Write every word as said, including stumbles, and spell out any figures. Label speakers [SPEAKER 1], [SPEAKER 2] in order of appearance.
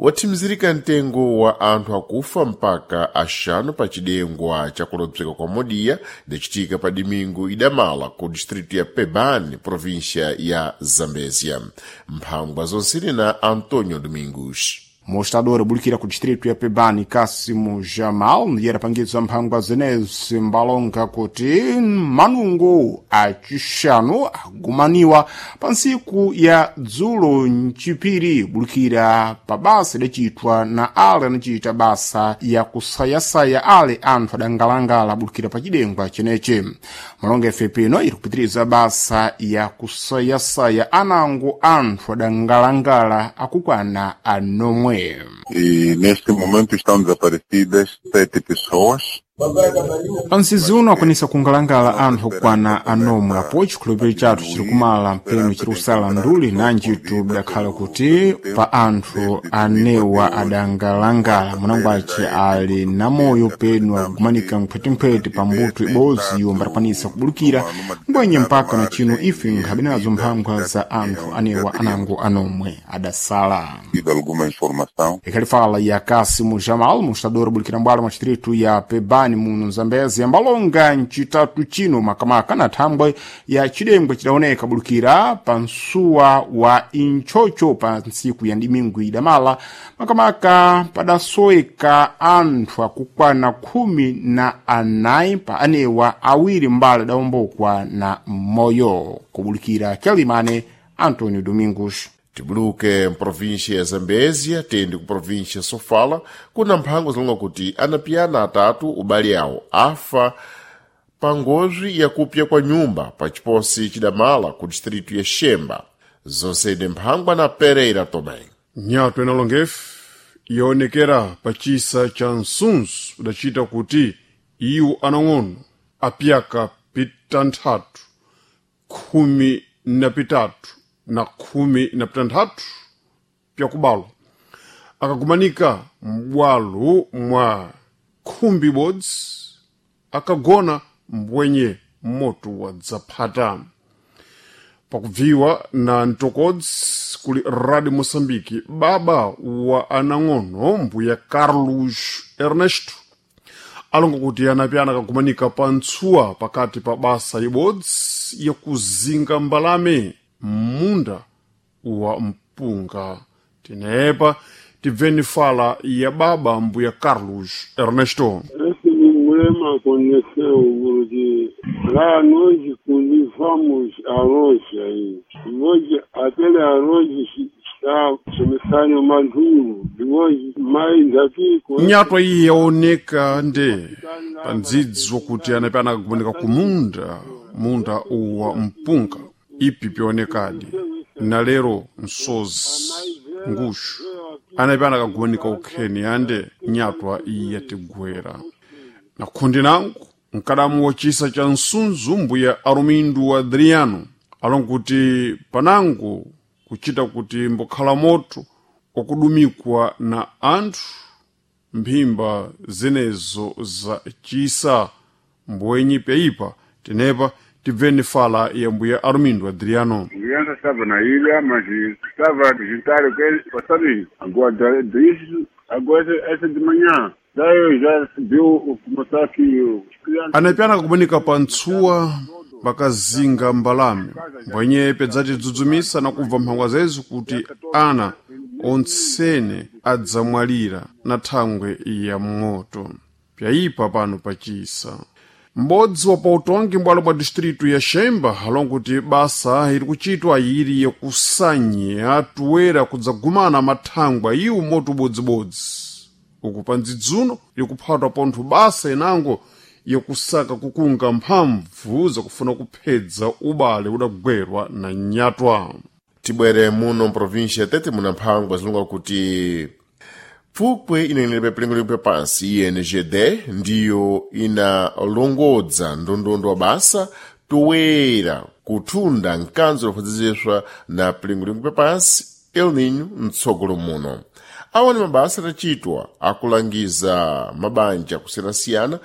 [SPEAKER 1] Wathimizirika mtengo wa anthu akufa mpaka axanu pa cidengwa ca kulobzeka kwa modiya idacitika pa domingo idamala ku distrito ya Pebane, província ya Zambézia. Mphangwa zonsene na Antonio Domingos.
[SPEAKER 2] Mostrador abulikira ku distrito ya Pebani Kasimu Jamal ndiye adapangidza mphangwa zenezi mbalonga kuti manungo acixanu agumaniwa pa ntsiku ya dzulo mcipiri bulikira pa basa idacitwa na ale anacita basa ya kusayasaya ale anthu adangalangala bulikira pa cidengwa cenece. Malonga efe pino iri kupitiriza basa ya kusayasaya anango anthu adangalangala akukwana anomwe.
[SPEAKER 3] E neste momento estão desaparecidas sete pessoas.
[SPEAKER 2] Pansizi uno akwanisa kungalangala anthu okwana anomwe apo chikhulupiriro chathu chiri kumala mpeno chiri kusala nduli nanjitu bidakhala kuti pa anthu anewa adangalangala munangwace ali namoyo peno akugumanika mphwetiphweti pa mbuto ibodzi iwo mbatakwanisa kubulukira ngwenye mpaka na chino ife nkhabe nazo mphangwa za anthu anewa anango anomwe adasala.
[SPEAKER 3] Tido alguma informação.
[SPEAKER 2] Ikhali fala ya Kasimu Jamal, mostrador bulikira mbwalo mwa distrito ya Pebani muno Zambezi, ambalonga ncitatu chino makamaka na thambwe ya cidengwe cidaoneka bulukira pa msuwa wa Inchocho pa ntsiku ya ndimingu idamala, makamaka padasoweka anthu akukwana khumi na anayi pa anewa awiri mbali adawombokwa na moyo. Kubulikira Calimane, Antonio Domingos.
[SPEAKER 1] Tibuluke mprovíncia ya Zambézia tende ku província ya Sofala kuna mphango zilonga kuti anapiyana atatu ubale awo afa pa ngozi yakupya kwa nyumba pa chiposi chidamala ku distrito ya Xemba. Zonsene mphangwa na Pereira Tomé.
[SPEAKER 4] Nyatwa inalongefu yaonekera pa chisa cha nsunsu udacita kuti iwo anang'ono apyaka pitanthatu khumi na pitatu na khumi na pitanthatu pyakubalwa akagumanika m'bwalo mwa khumbi ibodzi akagona mbwenye moto wadzaphata. Pakubviwa na mtokodzi kuli Radio Moçambique, baba wa anang'ono mbuya Carlos Ernesto alonga kuti anapyana akagumanika pa ntsuwa pakati pa basa ibodzi yakuzinga mbalame m'munda wa mpunga. Tinepa tibveni fala ya baba mbuya Carlos Ernesto.
[SPEAKER 5] Esse problema aconteceu porque lá nós cultivamos arroz aí. Hoje, aquele arroz está começando maduro. Depois, mais aqui... com-
[SPEAKER 4] Nyatwa iyi yaoneka nde pa ndzidzi wakuti anapyana akagumanika ku munda munda wa mpunga ipi pyaonekadi na lero nsozi nguxu anapyana akagumanika ukheni ande nyatwa iyi yatigwera na khundi nangu mkadamu wa chisa cha nsunzu mbuya Arumindu Adriano alonga kuti panango kuchita kuti mbokhala moto wakudumikwa na anthu mphimba zenezo za chisa mbwenyi pyaipa. Tenepa tibveni fala ya mbuya Armindo Adriano.
[SPEAKER 5] Criança estava na ilha, mas estava a juntar o que passarinho. Agora, disso, agora essa de manhã. Daí eu já viu o começar aqui. Os crianças
[SPEAKER 4] Anapyana akakumanika pa ntsuwa pakazinga mbalame mbwenye pedzatidzidzumisa na kubva mphangwa zezo kuti ana ontsene adzamwalira na thangwe ya moto pyayipa pano pachisa. M'bodzi wa pautongi m'bwalo bwa distritu ya Xemba alonga kuti basa iri kuchitwa iri yakusanya tuwera kudzagumana mathangwa iwo moto ubodzibodzi uku pa ndzidzuno ikuphatwa pontho basa inango yakusaka kukunga mphamvu zakufuna kuphedza ubale udagwerwa na nyatwa.
[SPEAKER 1] Tibwere muno mprovíncia ya Tete muna mphangwa zilonga kuti pfupwe inenelepa pilengolengo pya pansi I N G D ndiyo inalongodza ndondondo wa basa toera kuthunda mkanzo lofadzizeswa na pilengolengo pya pansi El Nino mtsogolo muno. Awa ni mabasa adacitwa akulangiza mabanja kusiyanasiyana.